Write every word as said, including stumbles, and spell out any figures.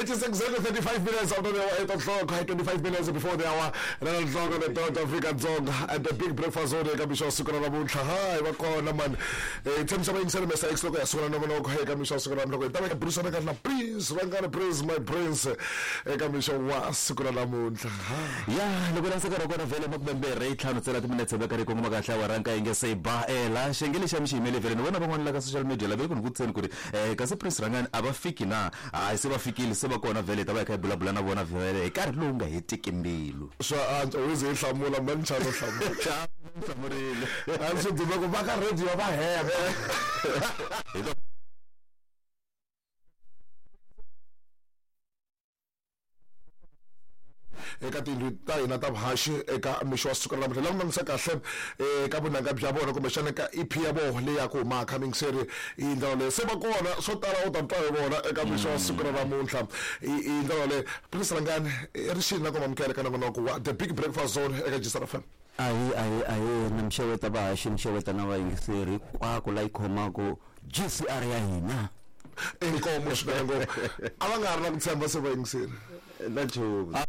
It is exactly thirty-five minutes after the hour, eight o'clock, twenty-five minutes before the hour. nine o'clock on the dot, Africa Dzonga at the big breakfast zone eka mixo wa siku ra namuntlha. Hi va kona man. Eh tshemisa va yingisela Mister X loko ya sungula nongonoko eka mixo wa siku ra namuntlha. Hi ta va burisana kahle na Prince Rhangani, Prince my Prince eka mixo wa siku ra namuntlha. Ya loko la nkarhi wa kona vhele makumembirhi ntlhanu ntsena timinetse va karhi kongoma kahle awara nkaye nge se ba eh la xenge lexi a mi xi yimele vhele ni vona van'wana la ka social media lava ku ni vutiseni ku ri eh kasi Prince Rhangani a va fiki na hayi se va fikile se va kona vhele hi ta va hi kha hi bulabula na vona vhele hi nkarhi lowu nga hetiki mbilu swa antswa u ze hi hlamula mani nchavo hlamula hlamurile a swi dume ku va ka radio va hemba eka tindlu ta hina ta vuhaxi eka mixo wa siku ra namuntlha lava langutisa kahle eka vunanga bya vona kumbexana eka E P ya vona leyi ya ku huma coming series i ndlela leyi se va kona swo tala u ta twa hi vona eka mixo wa siku ra namuntlha i ndlela leyi Prince Rhangani rixini na ku mamukela eka nongonoko wa The Big Breakfast Zone eka G C R F M. Ahi ahi ahi na mixeweta vahaxi mixeweta na vayingiseri hinkwako la yi khomaka G C R ya hina. Inkomo swinene ngopfu a va nga ri na ku tshemba se vayingiseri na nchumu.